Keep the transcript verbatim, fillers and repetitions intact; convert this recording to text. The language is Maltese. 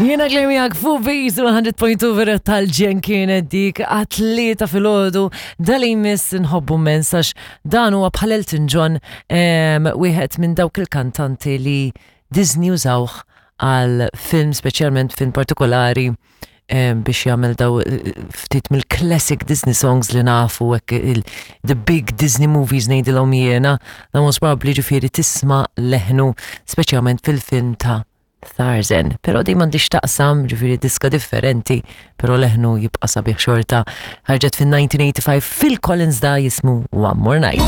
Jiena Claire miegħek fuq Beat one hundred point two, vera tal-ġenn kienet dik għat-tlieta filgħodu. Dali miss nħobbu immens għax dan huwa bħal Elton John, em, wieħed minn dawk il-kantanti li Disney użawh għal film, speċjalment film partikolari, em, biex jagħmel daw eh, ftit mill-classic Disney songs li nafu hekk, il- the big Disney movies ngħidilhom jiena, da most probably ġifieri tisma' leħnu speċjalment fil-film ta' Tarzan. Pero di m'għandix taqsam, ġifieri diska differenti, pero leħnu jibqa' sabiħ xorta. Ħarġet fin-nineteen eighty-five, Phil Collins, da jismu One More Night.